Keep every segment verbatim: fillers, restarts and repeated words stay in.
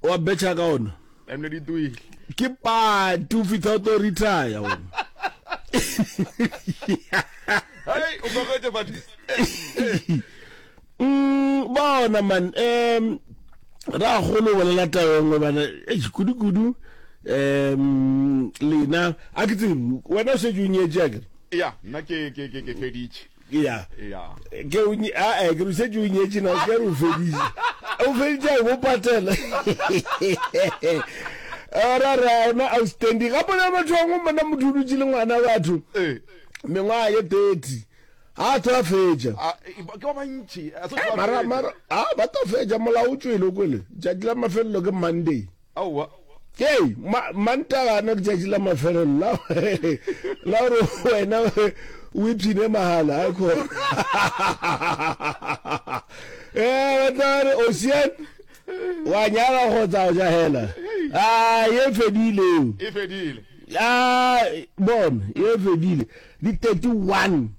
Wa betšha ka ona. Emle di tuile. Ke pati o fitlha o tlo retire wena. Hey, o tlogetse batho. Mm, bona man um ra golo bolela taba e nngwe bana eish kudu-kudu um lena a ke tsebe wena o šetše o nyetše akere Ya, nna ke ke ke ke feditše. ya Ya. ke o nye- a eh, ke re o šetše o nyetše na o ke re o feditše o feditše a bo patela ra ra ona outstanding gape na batho bangwe mona motho o dutše le ngwana batho Eh. mengwaga ye thirty ga tlo a fetša A ke ba bantši. A se Eh, mara mara a ba tlo fetša molao o tswele o kwele tšatši la mafelelo ke monday Aowa. ke ma mantagana ke tšatši la mafelelo la la gore wena o ipshine mahala a khona eh ba tla re ocean wa nyala kgotsa o ja hela a ye fedile eo E fedile. a bona ye fedile di thirty-one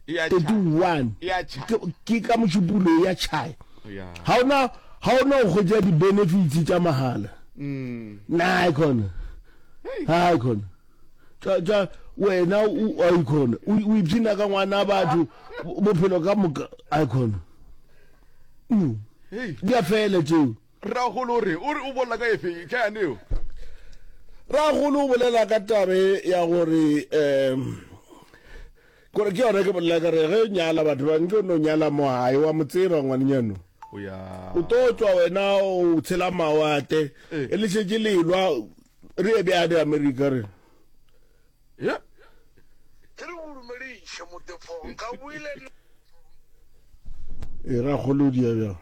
E a tšha. thirty-one E a tšha. ke ke ka mošupolo ya tšhaya Ya. ga ona ga ona go hwetša di-benefits tša mahala Mm. na e khona ga e khona tša tša wena o a ikhona o o ipshina ka ngwana batho bophelo ka moka a ikhona Mm. Hey. di a fela tšeo Ragolo o re o re o bolela ka efe ka yane eo. ragolo o bolela ka tabe ya gore um kore ke yona ke bolela ka re ge o nyala batho ba nke o no nyala mo gae wa mo tseba ngwanenyano O ya. o tlo tswa wena o tshela mawate Eh. e le šetše lelwa re ye bjane amerika re Ya. Ke re go dumediše motefo nka buile e ragolo o dia bjang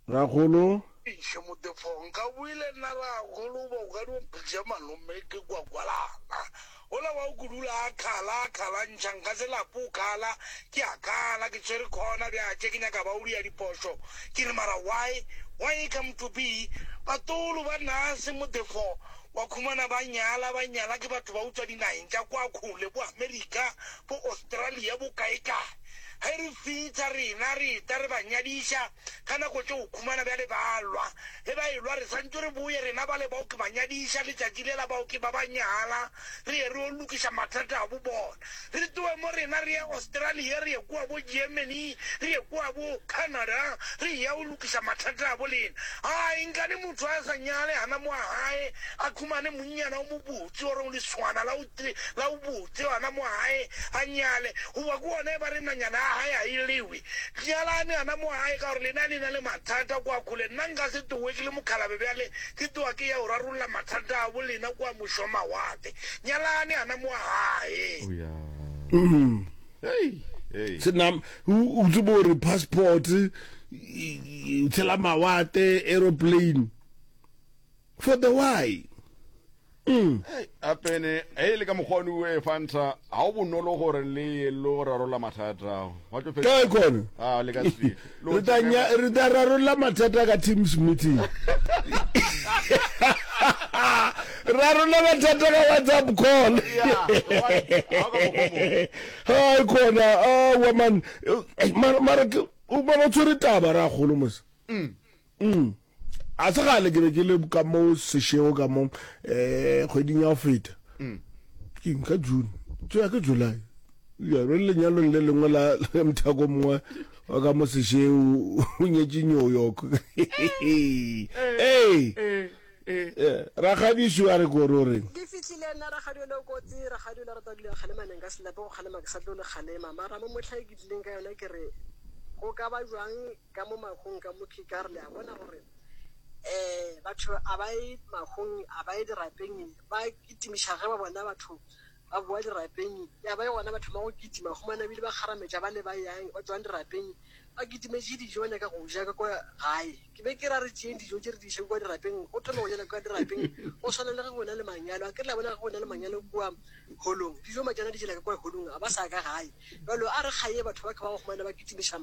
ragolo iše motefo nka buile nna ragolo ba o ka di mpitše malome ke kwakwalana ola wa o kudula a khala a khala ntšha nka se lapo o khala ke a khala ke tshwere khona bjatše ke nyaka ba o dia dipošo ke re mara why why come to be batolo ba nase motefo wa khumana ba nyala ba nyala ke batho ba utswa dinaheng tša kwa kgole bo america bo australia bo kae-kae ge re fitlha rena re ta re ba nyadiša ka nako tše o khumana bjale ba lwa ge ba elwa re santse re boye rena ba le bao ke ba nyadiša letšatši lela bao ke ba ba nyala re ye re o lokiša mathata a bo bona re tloe mo rena re ye australia re ye kua bo germany re ye kua bo canada re ya o lokiša mathata a bo lena ai nkane motho a sa nyale gana mo a gae a khumane monnyana o mobotse ore o leswana la o tre- la o botse gana mo gae a nyale goba ke ona e ba re nanyana a gae a e lewe nyalane gana mo gae ka gore lena le na le mathata kwa kgole nna nka se towe ke le mokhalabe bjale ke toa ke ya go rarolla mathata a bo lena kwa mošomawate nyalane gana mo gae O ya. Mm. Hey. Hey. senam o o tsebe gore passport e- e- o tshela mawate aeroplane for the why mm. Hey, apene e le ka mokgwa o e fanta ga o bonolo gore le ye lo rarolla mathata ao. Wa tlo fetša- kae kona Ah, le ka se. Lo re tla nya- re tla rarolla mathata ka teams meeting rarolla mathata ka whatsapp call Ya, wa- ha o ka mokgwa o mong. hai khona awa man Eh, mara mara ke o bona o tshwere taba ra golo mos mm a se gale ke be ke le ka mo sešego ka mo um kgweding ya go feta ke eng, ka june tšea ke july ya re le lenyalong le lengwe la la mothako mongwe wa ka mo sešego o nyetše new york ee Eh, eh. eh, rakgadišo a re kore o reng ke fitlhile nna rakgadi le kotsi rakgadi le rata dula kgalemaneng ka selape go kgalema ke sa tlo le kgalema mara mo motlha e ke tlileng ka yona ke re go ka ba jwang ka mo mahong ka mo ka re le a bona gore um batho a ba ye mahong a ba ye dirapeng ba kitimiša ge ba bona batho ba boa dirapeng ya ba ye gona batho ba go kitima humana ebile ba kgarametša ba le ba yang ba tswang dirapeng ba kitimetše dijo ba nyaka go ja ka kwa gae ke be ke ra re tšeeng dijo tše re di iše kwa dirapeng go thome go jela kwa dirapeng go swana le ge go na le manyalo a ke re la bona ge go na le manyalo kua holong dijo matšana di jela ka kwa holong a ba sa ka gae jalo a re gae batho ba ke ba go humana ba kitimiša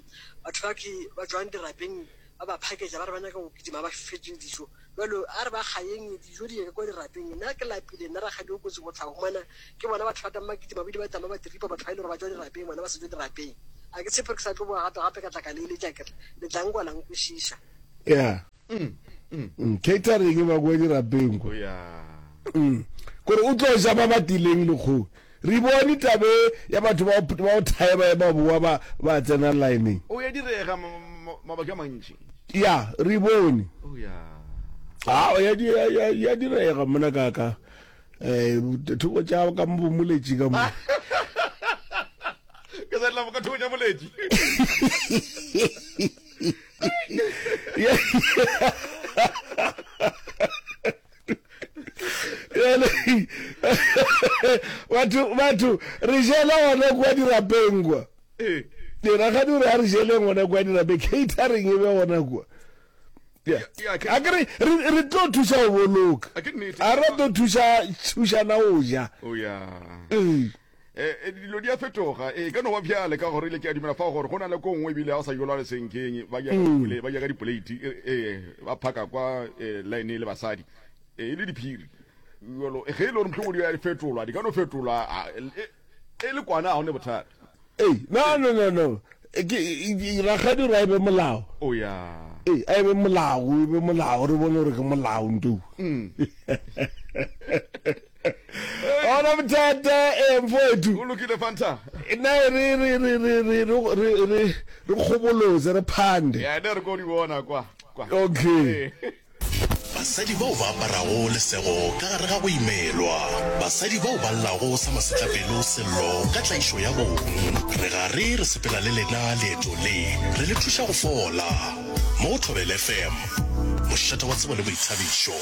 batho ba ke ba tswang dirapeng ba ba phaketša ba re ba nyaka go kitima ba fetse dijo jalo a re ba gaeng dijo di ye ka kwa dirapeng nna ke lapile nna rakgadi o kotsi go tla humana ke bona batho ba tama kitima ba ile ba tama ba tripa batho ba ile gore ba tswa dirapeng bona ba se tswe dirapeng a ke tshepe ke sa tlo boa gape gape ka tla ka le eletša kere le tla nkwa la nkwešiša ya Mm, catering e ba kwa dirapeng kwa O ya. Mm. Kore o tlo ja ba ba tileng lekgowa. Re bone tabe ya batho ba ba o thaeba ba boa ba ba tsena lineng. O ya direga mabaka a mantši. Ya, re bone. O ya. Ah, ya di ya ya direga mona ka ka. Eh, thoko tša ka mo bomoletši ka mo. Ke sa tla ka thoko tša moletši. Batho batho re jela gona kwa dirapeng kwa. Ee. Rakgadi o re a re jeleng gona kwa dirapeng, catering e be gona kwa. Yeah. Ya, ke- A ke re re re tlo thuša go boloka. A ke nnete. A re tlo thuša thušana go ja. O ya. Ee. Eh, eh, dilo di a fetoga e ka no ba bjale ka gore ile ke a dumela fa gore go na le ko nngwe ebile ga o sa jolwa lesenkeng ba ja ka dipole- ba ja ka dipoleiti eh, eh, ba phaka kwa eh, line le basadi eh, e le diphiri jalo ge e le gore mohlomong di a fetolwa di ka no fetolwa ah, e e le kwana ga o ne bothata Ei, no no no no. E, Ke e, e, rakgadi o re a e be molao. o ya Ee, a e be molao, e be molao, re bone gore ke molao nto. Ona bothata eh mfowethu. O lokile Fanta. Nna re re re re re re re re re kgobolotse re phande. Ya ne re ko di bona kwa kwa. Okay. Basadi bao ba aparago lesego ka gare ga go imelwa. Basadi bao ba llago sa masetlapelo sello ka tlaišo ya bong. Re gare re sepela le lena leeto le, re le thuša go fola. Mo go Thobela F M, mošate wa tsebo le boithabišo.